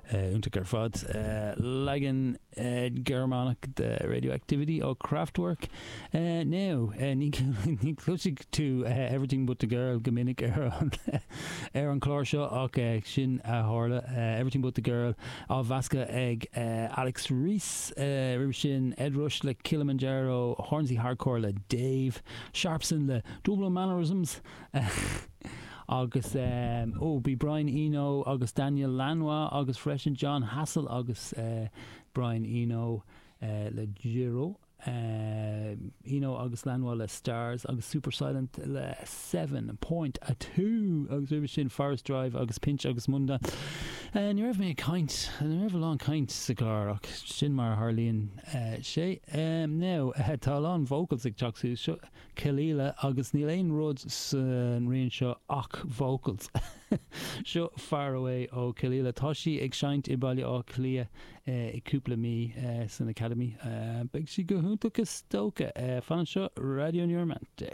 Iontach ar fad. Leagan Gearmánach de Radioactivity ó Kraftwerk. Now, ní chloisfidh tú Everything But The Girl go minic ar an ar an chlár seo ach sin a tharla. Everything But The Girl á mheascadh ag Alex Reece. Roimhe sin, Ed Rush le Kilimanjaro, Hornsey Hardcore le Dave Sharpson le Dublin Mannerisms. Agus ó bhí Brian Eno agus Daniel Lanois agus freisin Jon Hassell agus Brian Eno le Giro. Eno agus Lanois le Stars agus Supersilent le 7.2 agus roimhe sin Forest Drive agus Pinch agus Munda. Ní raibh mé ag caint, ní raibh a lán caint sa chlár ach sin mar a tharlaíonn sé. Now, tá a lán vocals ag teacht suas. Seo Kelela agus níl aon rud san rian seo ach vocals. Seo Far Away ó Kelela. Tá sí ag seinnt i Baile Átha Cliath i cúpla mí san Academy. Beidh sí go hiontach is dócha. Fan anseo, Raidió New Romantic.